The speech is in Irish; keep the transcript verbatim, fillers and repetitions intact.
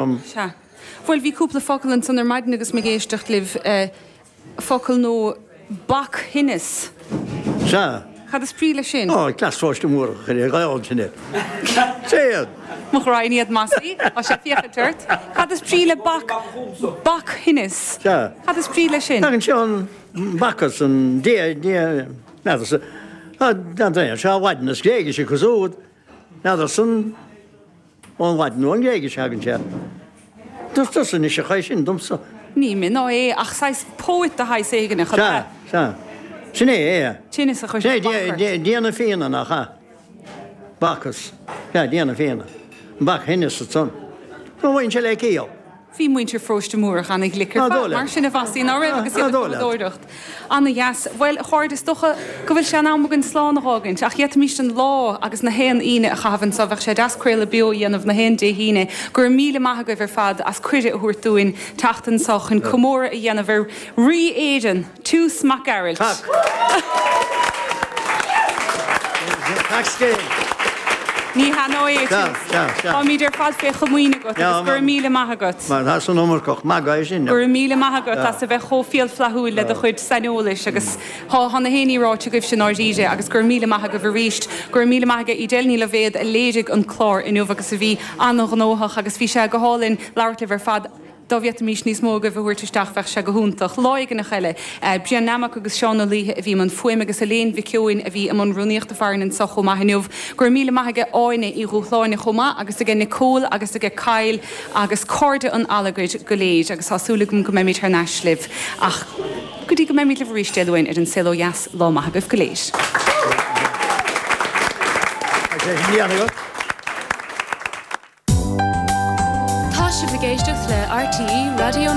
Sea. Bhuel, bhí cúpla focal ansan ar maidin agus mé ag éisteacht libh, focal nó bac-thinneas. Sea. Cad is brí leis sin? Ó, cleas Pharóiste Múrach a chuir ar ghaol tine. Sea. Mo ghraidhin iad Mossie, tá sé ag féachaint ort. Cad is brí le bac, bac-thinneas? Sea. Cad is brí leis sin? Tagann sé ón Bacchus, an dia, dia, n'fheadar-sa, n'fheadar, sea, Laidin is Gréigis acu siúd, n'fheadar-sa an. Ón Laidin nó ón nGréigis a thagann sé. Dúirt tusa anois a chaoi sin domsa. Ní mé ná é ach saghas poet de shaghas éigin, ab Sea, ea? sea. Sin é, é. Tinneas a chuir Sin é, bac ort. Dia, Dia na fíona, nach ea? Bacchus. Sea, Dia na fíona. An bac-thinneas ansan. Nó bhain sé le ciall. Bhí muintir Pharóiste Múrach ana-ghlic ar fad, mar sin a Mhossie, ná raibh, agus iad ag cumadóireacht. Ana-dheas. Bhuel, a chairde, is dócha go bhfuil sé in am againn slán a dh'fhágaint, ach d'fhéadfaimis an lá agus na haon Aoine a chaitheamh anseo, bheadh sé deas craoladh beo a dhéanamh na haon Dé hAoine. Go raibh míle maith agaibh ar fad as cuireadh a thabhairt dúinn teacht anseo chun comóradh a dhéanamh ar Rí Éireann, Toose Mac Gearailt. Tac. Tac scéal. Ní hea ná é, Sea, Toose. sea, sea. Táimid ar fad fé chomaoin agat agus go raibh míle maith agat. Mar tá san iomarcach magadh é sin. Go raibh míle maith agat as a bheith chomh fial flaithiúil le do chuid saineolais agus thá thá na haon ní ráite agaibhse i ndáiríre agus go raibh míle maith agaibh arís. Go raibh míle maith aige Edel Ní Loibhéad a léirigh an clár inniu agus a bhí an-ghnóthach agus bhí sé go hálainn labhairt libh ar fad. Dá bhféadfaimis níos mó agaibh a thabhairt isteach bheadh sé go hiontach. Lá éigineach eile. Brian Nammock agus Seán Ó Laoithe a bhí i mbun fuaime agus Elaine Mhic Eoin a bhí i mbun rúnaíochta farainn anseo chomh maith inniu. Go raibh míle maith aige Áine Uí Dhúshláine chomh maith agus aige Nicole agus aige Kyle agus cairde an Allagair go léir agus tá súil agam go mbeimid thar n-ais libh ach go dtí go mbeimid libh arís Dé Luain ar An Saol Ó Dheas, lá maith agaibh go léir. Tá sé sin déanta agat. Tá sibh ag éisteacht le RTÉ Raidió na.